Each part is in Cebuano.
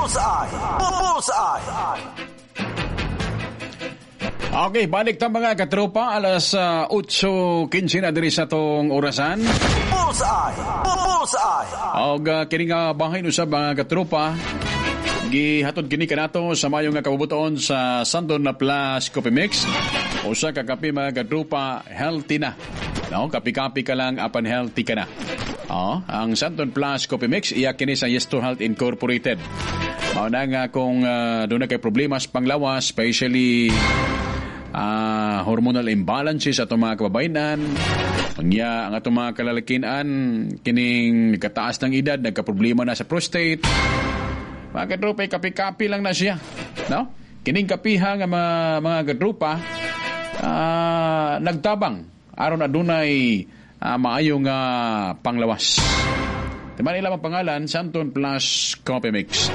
Bullseye. Bullseye. Okay, balik ta, mga katropa, alas 8:15 na diri sa atong orasan. Bullseye. Bullseye. Og kini nga bahin usab, mga katropa, gihatod kini kanato sa mayo nga kabubuton sa Sandon na Plus Coffee Mix. Usa ka kape, mga katropa, healthy na. No, kapi-kapi ka lang apan healthy ka na. Oh, ang Sandon Plus Coffee Mix iya kini sa Yesto Health Incorporated. Mao na nga kung doon na kay problema sa panglawas, especially hormonal imbalances atong mga kababayenan. Unya, ang atong mga kalalakian, kining kataas ng edad, nagka-problema na sa prostate. Mga katropa, eh, kapi-kapi lang na siya. No? Kining kapiha nga mga katropa, nagtabang aron adunay maayo nga panglawas. Diba nila ang pangalan, Santon Plus Coffee Mix.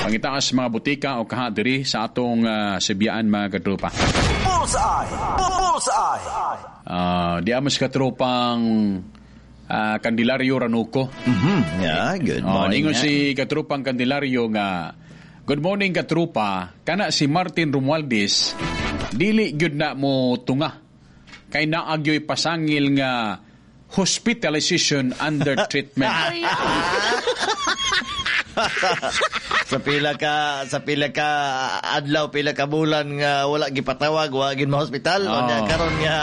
Pangitaas mga butika o kaha diri sa atong Sibyaan, mga katropa. Bullseye. Bullseye. Di amos katropang Candelario Ranuco. Yeah, good Oh, morning. ingon ha. si katropang Candelario nga, "Good morning, katropa, kana si Martin Romualdez dili gyud na mo tunga kay naagyoy pasangil nga hospitalization under treatment." Sa pila ka adlaw, pila ka bulan nga wala gipatawag, wa gid hospital. Oo. Unya karon nga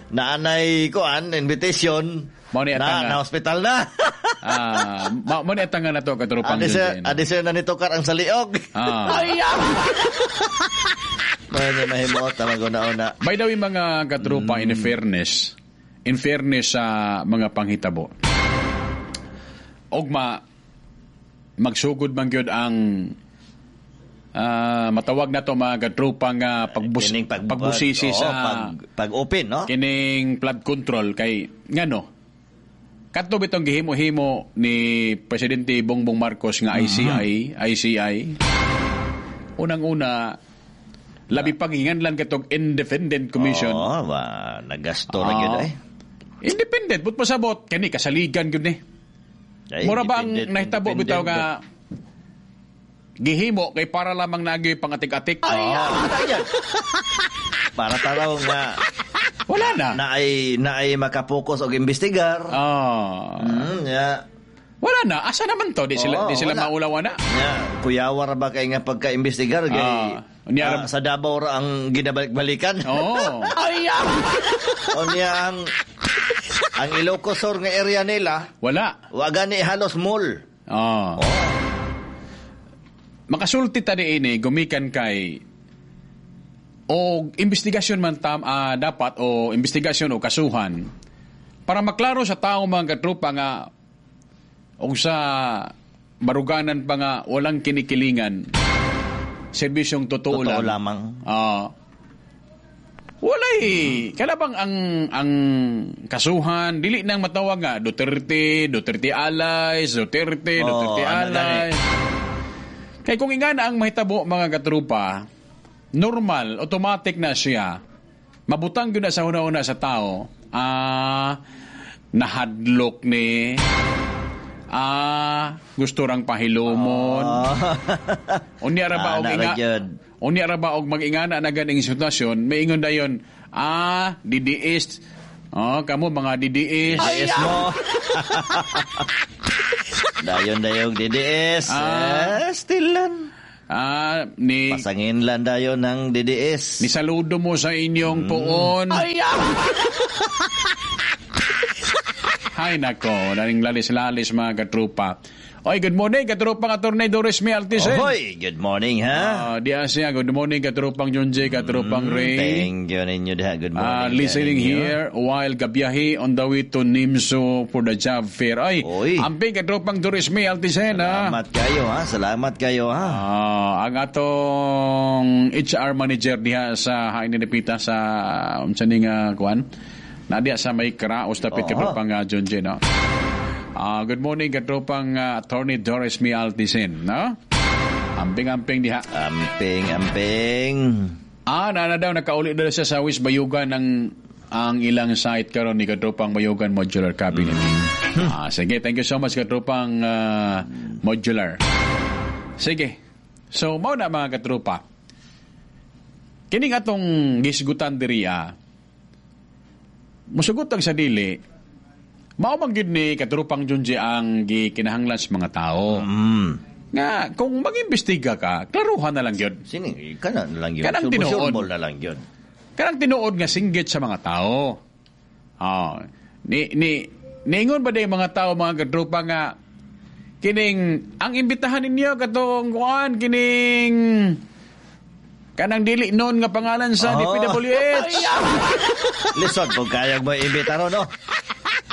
naanay kuan invitation Mao ni na, atang na hospital na. Mao ni atang nga nato, katropang Adi siya, Junjun. adi siya na nitokar ang saliog. Mao ni mahimuot na maguna-una. By the way, mga katropa, in fairness sa mga panghitabo, ugma, magsugod man gyud ang matawag na to, mga katropa, nga Kining pagbusisi oo, sa pag open, no? Kining flood control kay ngano kadto bitong gihimo-himo ni Presidente Bongbong Marcos nga ICI, ICI, unang-una labi pag hinganlan katong independent commission. Oo, ba, nagasto ra gyud ay. Independent but pasabot kani kasaligan gyud ni. Ay, Mura ba ang independent, nahitabo bitaw nga gihimo kay para lamang nagyoy pangatik-atik? Oo, para taraw nga Wala na. Na ay makapokus og imbestigar. Yeah. Wala na. Asa naman to? Di sila, Oo, di sila wala. maulaw na. Yeah, kuyawa ra ba kay nga pagka-imbestigar kay sa Davao ra ang ginabalik-balikan. Oo. Unya ang Ilocos Sur nga area nila wala. Wa gani halos mall. Oh. Makasulti ta ini gumikan kay o investigasyon man tam dapat o investigasyon o kasuhan para maklaro sa tao, mga katropa, nga og sa baruganan pa nga walang kinikilingan, serbisyong totoo, Totoo lang. lamang. Walay kada bang ang kasuhan dili nang matawag nga Duterte, Duterte allies, Duterte, Oo, Duterte ano gani. allies. Kay kung ingana ang mahitabo, mga katrupa, normal, automatic na siya. Mabutang gyud na sa una-una sa tao, nahadlok ni, gusto rang pahilumon. Unya ra ba og Ah, na ra inga gyud. Unya ra ba og mag-ingana na ganing sitwasyon, may ingon dayon, DDS. Oh, kamo mga DDS. DDS mo. Dayon dayong DDS. Eh, still lang. Ni Pasangin lang dayon ng DDS. Ni saludo mo sa inyong puon. Hay nako, naning lalis-lalis, mga katrupa. Oy, good morning, katropang Attorney Doris May Altisen. Ohoy, good morning ha. Di siya, good morning, katropang Junjay, katropang Ray. Thank you ninyo diha. Good morning. Listening ninyo. here while gabiyahe on the way to Nimso for the job fair. Ay, amping, katropang Doris May Altisen, ha. Salamat kayo ha. Salamat kayo ha. Ang atong HR manager diha sa Hain Nipita sa unsa ni nga kuan? Na diha sa may Kraos dapit, katropang Junjay, no? Good morning, katropang Attorney Doris May Altisen, no? Amping-amping diha. Amping, amping. Na daw nakauli daw siya sa West Bayugan ng ang ilang site karon ni katropang Bayugan Modular Cabinet. Sige, thank you so much, katropang Modular. Sige. So mao na mga katropa. Kining atong gisgutan diri musugot ang sa dili, mao man gyud ni katropang Junji ang gikinahanglan sa mga tao. Nga kung mag-imbestiga ka, klaruhan na lang gyud. Sini kana na lang gyud. Kanang tinuod. Na lang gyud. Kanang tinuod nga singgit sa mga tao. Ah, ni niingon ba day mga tao mga katropa nga kining ang imbitahan ninyo katong kuan kining kanang dili noon nga pangalan sa DPWH. Lisod kung kayag mo imbita ron, no?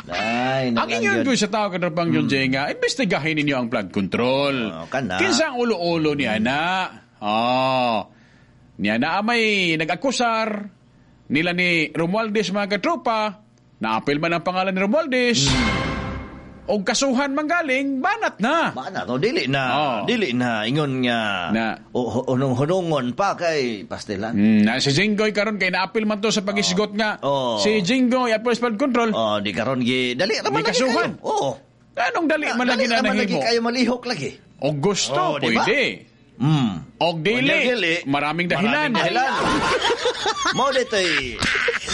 Ay, ang ingon ko sa tao katropang yun, nga, imbestigahin ninyo ang flood control. Oh, kana. Kinsa ang ulo-ulo niya na? Oh. Niya na may nag-akusar nila ni Romualdez mga katropa, naapil man ang pangalan ni Romualdez. Og kasuhan manggaling, banat na. Banat, o dili na. Oh. Dili na, ingon nga, na, hunong-hunongon pa kay pastilan. Na si Jinggoy karon kay naapil man to sa pag-isgot nga. Oh. Si Jinggoy, apil sa flood control. Oh, di karon gi, dali raman lagi kasuhan. Oo. Anong dali man lagi na nahimo? Dali kayo malihok lagi. Og gusto, pwede. Og dili, maraming dahilan. Maraming dahilan. Mo dito'y,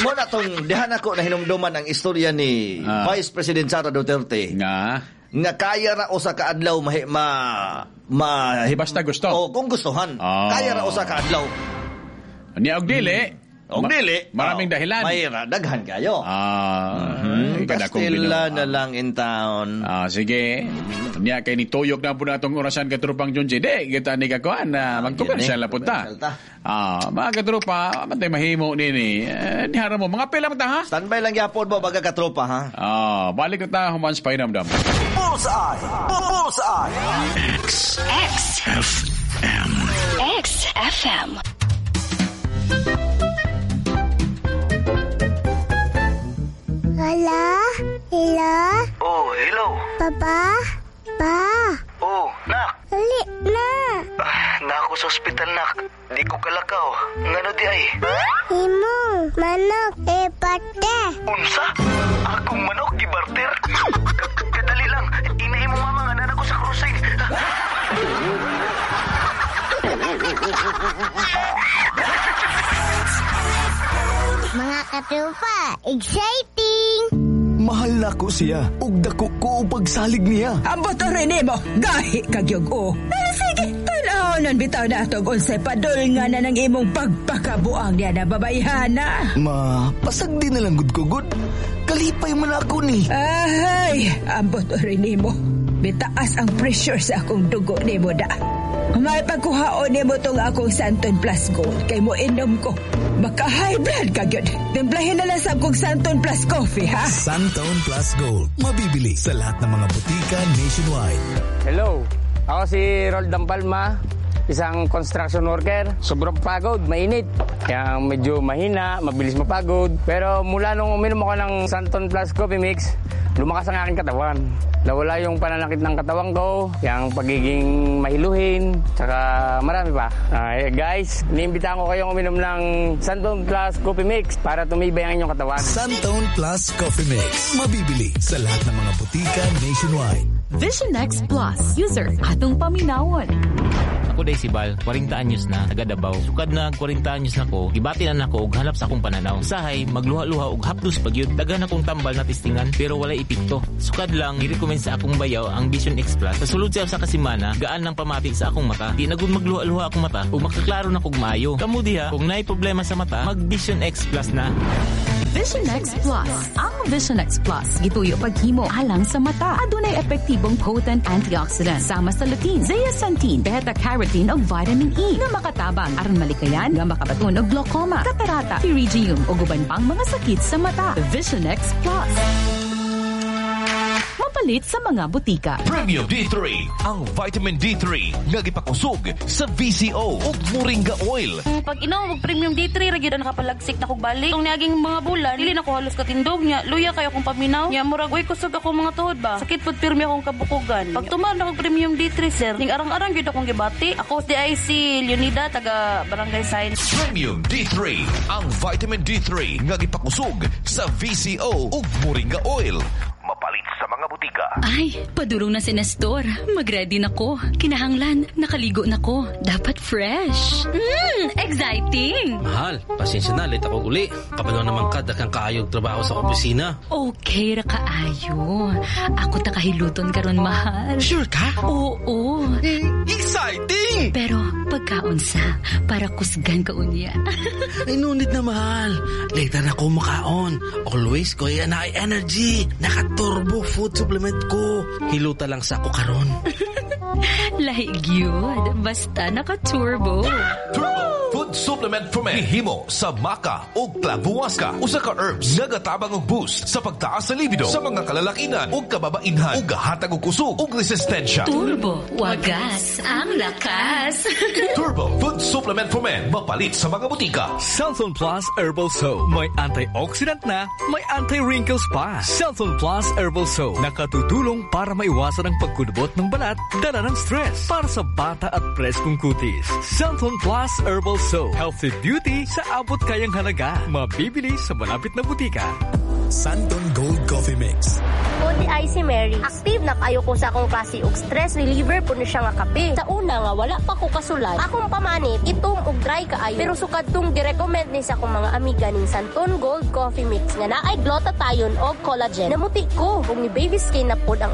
mo na tong dihan ako na hinumduman ang istorya ni Vice President Sara Duterte. Nga kaya ra usa ka adlaw basta gusto. O kung gustuhan. Kaya ra usa ka adlaw. Niya og dili. Og dili, maraming dahilan. Mayra daghan kayo. Pastila na lang in town. Sige. Niya kay ni tuyok na po na itong orasan katropang Junji. Di, kita ni kakuan na magkomersyal na punta. Mga katropa, mantay mahimo nini. Nihara mo, mga pila ta ha? Standby lang yapon mo baga katropa ha? Balik na ta, humans pa inamdam. Bullseye! Bullseye! X X F M X F M. Hello? Hello? Oh, hello. Papa? Pa? Oh, nak. Dali na. Na ako sa ospital, nak. Di ko kalakaw. Ngano di ay? Himong, manok, e pate. Unsa? Akong manok gibarter? Kadali lang. Inay mo mama nga nana ko sa crossing. Mga katrupa, exciting! Mahal na ko siya, ug dako ko pagsalig niya. Ambot rin mo, gahi kagyog o. Sige, tanaw bitaw na atog unsay padol nga na ng imong pagpakabuang niya na babayhana. Ma, pasag di na lang gud ko gud. Kalipay man ako ni. Ahay, ambot rin mo. Bitaas ang pressure sa akong dugo nimo da. May pagkuhaon nimo tong akong Santon Plus Gold kay mo inom ko. Maka high blood ka gyud. Timplahin na lang sa akong Santon Plus Coffee, ha? Santon Plus Gold. Mabibili sa lahat ng mga butika nationwide. Hello, ako si Roldan Palma, isang construction worker. Sobrang pagod, mainit. Kaya medyo mahina, mabilis mapagod. Pero mula nung uminom ako ng Santon Plus Coffee Mix, lumakas ang aking katawan. Nawala yung pananakit ng katawan ko, yung pagiging mahiluhin, tsaka marami pa. Guys, iniimbitahan ko kayong uminom ng Santon Plus Coffee Mix para tumibay ang inyong katawan. Santon Plus Coffee Mix. Mabibili sa lahat ng mga butika nationwide. Vision X Plus. User, atong paminawon. Ako day si Bal, 40 anyos na, taga Davao. Sukad na 40 anyos na ko, gibati na nako og hanap sa akong pananaw. Usahay, magluha-luha og hapdos pagyud. Daghan akong tambal na testingan pero walay epekto. Sukad lang girecommend sa akong bayaw ang Vision X Plus. Sa sulod siya sa kasimana, gaan ng pamati sa akong mata. Di na gud magluha-luha akong mata ug makaklaro na kog maayo. Kamo diha, kung naay problema sa mata, mag Vision X Plus na. Vision X Plus. Ang Vision X Plus, gituyo paghimo alang sa mata. Adunay epektibong potent antioxidant sama sa lutein, zeaxanthin, beta-carotene ug vitamin E nga makatabang aron malikayan nga makabaton og glaucoma, katarata, pterygium ug uban pang mga sakit sa mata. Vision X Plus. Mapalit sa mga butika. Premium D3, ang vitamin D3 nga gipakusog sa VCO ug Moringa oil. Pag inom og Premium D3 ra gyud ang nakapalagsik na kog balik. Kung niaging mga bulan, dili na ko halos katindog nya. Luya kayo akong paminaw. Nya murag way kusog ako mga tuhod ba. Sakit pud pirmi akong kabukugan. Pag tuman na kog Premium D3 sir, ning arang-arang gyud akong gibati. Ako si DIC Leonida taga Barangay Science. Premium D3, ang vitamin D3 nga gipakusog sa VCO ug Moringa oil. Mapalit sa mga butika. Ay, padulong na si Nestor. Mag-ready na ko. Kinahanglan, nakaligo na ko. Dapat fresh. Exciting! Mahal, pasensya na, late ako uli. Kabalo naman ka, daghang kaayog trabaho sa opisina. Okay ra kaayo. Ako ta kahiluton karon, mahal. Sure ka? Oo. Exciting! Pero pagkaon sa, para kusgan ka unya. Ay, no need na, mahal. Later na ko makaon. Always ko yan na energy. Naka-Turbo Food Supplement ko. Hiluta lang sa ako karon. Lahi gyud. Basta naka-Turbo. Turbo Food Supplement for Men. Himo sa maca o clavuasca. Usa ka herbs nagatabang og boost sa pagtaas sa libido sa mga kalalakinan ug kababainhan ug gahatag og kusog ug resistensya. Turbo, wagas ang lakas. Turbo Food Supplement for Men. Mapalit sa mga butika. Xanthone Plus Herbal Soap. May antioxidant na, may anti-wrinkles pa. Xanthone Plus Herbal Soap. Nakatutulong para maiwasan ang pagkulubot ng balat, dala ng stress. Para sa bata at preskong kutis. Xanthone Plus Herbal Soap. Healthy beauty sa abot kayang halaga. Mabibili sa malapit na butika. Santon Gold Coffee Mix. Ako diay si Mary. Active na kayo ko sa akong klase og stress reliever po ni siya nga kape. Sa una nga wala pa ko kasulay. Akong pamanit itom og dry kaayo. Pero sukad tong girecommend ni sa akong mga amiga ning Santon Gold Coffee Mix nga naay glutathione og collagen. Namuti ko ug ni baby skin na pod ang